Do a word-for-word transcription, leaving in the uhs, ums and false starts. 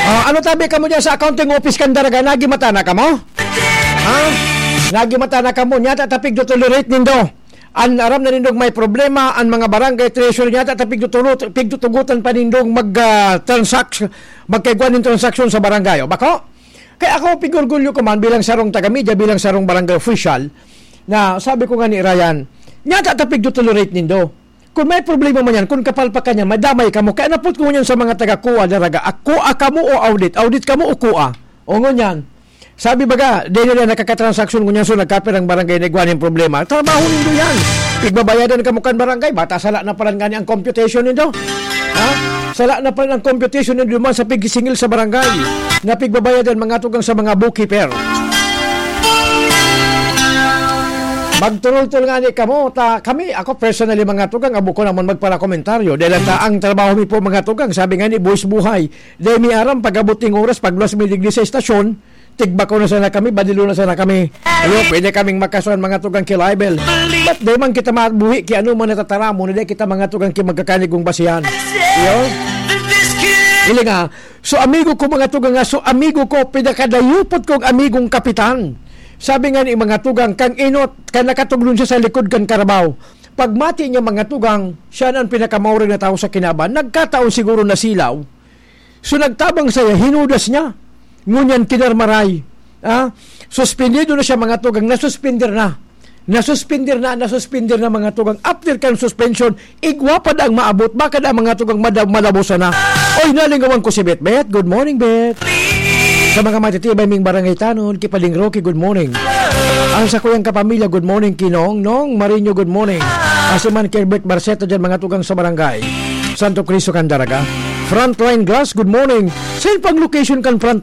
Ah, ano tabi kamo diyan sa accounting office kan Daraga? Nagimata na kamo? Ha? Nagimata na kamo? Nyata ta pigtotolerate nindo. An aram na nindong may problema, an mga barangay treasurer nyata ta pigtuturo-, pigtutugutan pa nindong mag, ah, transact-, magkaigwa nin transaksyon sa barangay. O, bako? Kaya ako, pigorgulyo ko man bilang sarong taga-media, bilang sarong barangay official, na sabi ko nga ni Ryan, nyata ta pigtotolerate nindo. Kung may problema man yan, kung kapalpakan niya, madamay kamo. Kaya napot ko ngunyan sa mga taga-Coa, Daraga. Ako, kamo o audit? Audit kamo o Coa? O ngunyan. Sabi baga, di nila nakakatransaksyon ngunyan, so nagkapirang barangay na igwa nin problema. Trabaho nindo yan. Pigbabayadan kamo kan barangay, bata sala na palan ngani ang computation nindo. Ha? Sala na palan ang computation nindo man sa pigisingil sa barangay. Na pigbabayadan, mga tugang sa mga bookkeeper. Magturultol nga ni kamo, ta kami, ako personally, mga tugang, abo ko naman magparakomentaryo. Dahil ta, ang trabaho mi po, mga tugang, sabi nga ni Boys Buhay, dahil mi aram, pag-abot ning oras, pagluwas mi digdi sa estasyon, tigbako na sana kami, badilo na sana kami. Ayo, pwede kaming makasuhan, mga tugang, ki libel. But dahil man kita mabuhi, ki ano man natataramon, na dahil kita, mga tugang, ki magkakanigong basihan. Iyo? Ili nga, so amigo ko, mga tugang, nga, so amigo ko, pinakadayupot kong amigong kapitan. Sabi nga ni mga tugang, kang inot, kan nakatuglon siya sa likod kan karabaw. Pagmati niya, mga tugang, siya na ang pinakamaurag na tao sa kinaban. Nagkataon siguro na silaw. So, nagtabang saya, hinudas niya. Ngunyan, kinarmaray. Ah, suspendido na siya, mga tugang. Nasuspender na. Nasuspender na, nasuspender na, mga tugang. After kan suspension, igwa pa daang maabot. Baka na, mga tugang, mada-, malabosan na. Oy, nalingawan ko si Betbet. Good morning, Bet. Sa mga matitibay ming barangay tanod, Kipaling Rocky, good morning. Ang sa kuyang kapamilya, good morning, Kinong. Nong Marino, good morning. Asiman Kelbert Barceta dyan, mga tugang sa barangay Santo Cristo, Candaraga. Frontline Glass, good morning. Saan pang location kan Frontline?